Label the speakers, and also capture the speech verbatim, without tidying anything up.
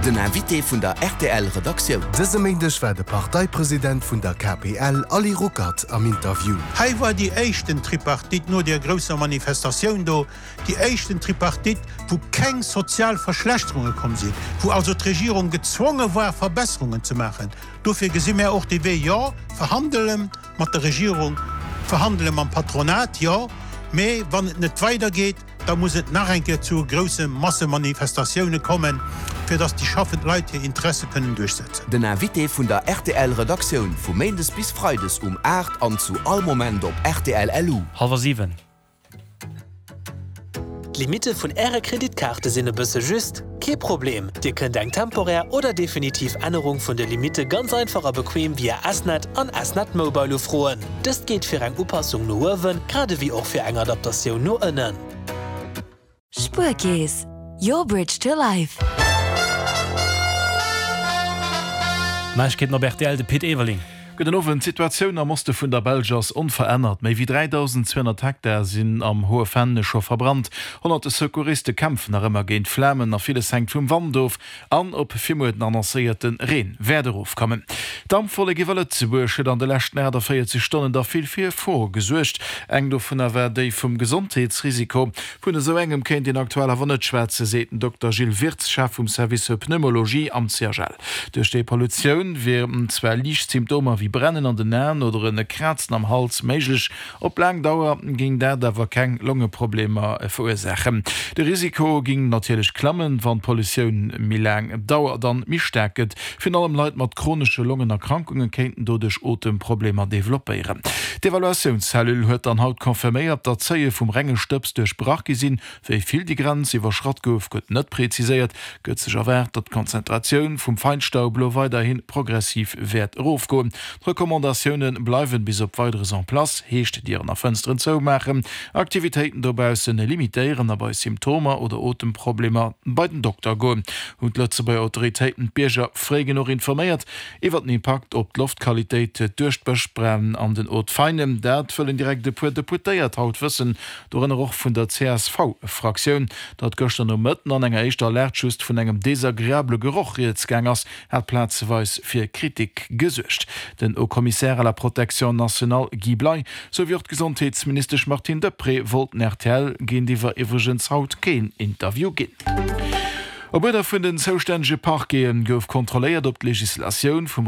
Speaker 1: Den Invité vun der R T L Redaktioun.
Speaker 2: Dëse Méindeg war de Parteipresident vun der K P L Ali Ruckert am Interview.
Speaker 3: Hei war déi éischten Tripartite no der grousser Manifestatioun do, déi éischten Tripartite, wou keng sozial Verschlechterunge komm sinn, wou also d'Regierung gezwonge war, Verbesserungen ze maachen. Dofir gesi mir och de Wee, jo, verhandele mat der Regierung, verhandele mam Patronat, jo, mee wann et net weidergeet, da muss et nach eng Kéier zu grousse Massemanifestatioune kommen, fir dass déi schaffend Leit hir Interesse kënnen duerchsetzen.
Speaker 1: Den Invité vun der R T L Redaktioun vu Méindes bis Freides um aacht an zu all Moment op R T L L U.
Speaker 4: Hallwer siwen.
Speaker 5: D'Limitte vun Äre Kreditkaarte sinn e bësse just? Kee Problem! Dir kënnt eng temporär oder definitiv Ännerung vun de Limitte ganz einfach a bequem via S-Net an S-Net Mobile ufroen. Dëst geet fir eng Upassung no uewen, grad ewéi och fir eng Adaptatioun no ënnen.
Speaker 6: Spuerkeess, your bridge to life.
Speaker 4: Neiegkeeten op R T L, de Pit Everling.
Speaker 7: Gudden Owend. D'Situatioun am Oste vun der Belsch ass onverännert. Méi wéi dräidausenzweehonnert Hektar sinn am Hohe Venn scho verbrannt. Honnerte Secouriste kämpfen nach ëmmer géint d'Flamen a villes hänkt vum Wand of an ob fir muer den annoncéierte Reen wäert erofkommen. D'Dampwollek iwwer Lëtzebuerg huet an de leschten aachtavéierzeg Stonnen da vill fir Froe gesuergt. Eng dovunner war déi vum Gesondheetsrisiko. Vun esou engem kéint een aktuell awer net schwätzen, seet den Dokter Gilles Wirtz, Chef vum Service Pneumologie am C H L. Duerch déi Pollutioun wieren zwar liicht Symptomer wéi Brennen an den Aen oder e Krazen am Hals méiglech. Op laang Dauer géing dat awer keng Longeproblemer verursaachen. De Risiko géing natierlech klammen, wann d'Pollutioun méi laang dauert an méi staark gëtt. Virun allem Leit mat chronesche Longenerkrankunge kéinten doduerch Otemproblemer developpéieren. D'Evaluatiounscellule huet dann haut confirméiert, datt d'Seuile vum renge Stëbs duerchbrach gi sinn. Wéi vill déi Grenz iwwerschratt gouf, gëtt net präziséiert. Gëtt sech erwaart, datt d'Konzentratioun vum Feinstaub lo weiderhi progressiv wäert erofgoen. D'Recommandatioune bleiwen bis op Weideres en place, heescht Dieren a Fënsteren zoumaachen, Aktivitéiten dobausse limitéieren a bei Symptomer oder Otemproblemer bei den Dokter goen. Hunn d'Lëtzebuerger Autoritéiten d'Bierger fréi genuch informéiert iwwer den Impakt op d'Loftqualitéit duerch d'Bëschbränn an den Hauts-de-Fainen? Dat wëllen direkt e puer Deputéiert haut wëssen, dorënner och vun der C S V-Fraktioun. Datt gëschter Nomëtten an enger éischter Alerte just vun engem desagreabele Geroch rieds gaang ass, hat plazeweis fir Kritik gesuergt. Den Haut-Commissaire à la protection nationale Guy Bley souwéi och d'Gesondheetsministesch Martine Deprez wollten R T L géintiwwer iwwregens haut keen Interview ginn. Op Uerder vun den zoustännege Parquete gouf kontrolléiert, ob d'Legislatioun vum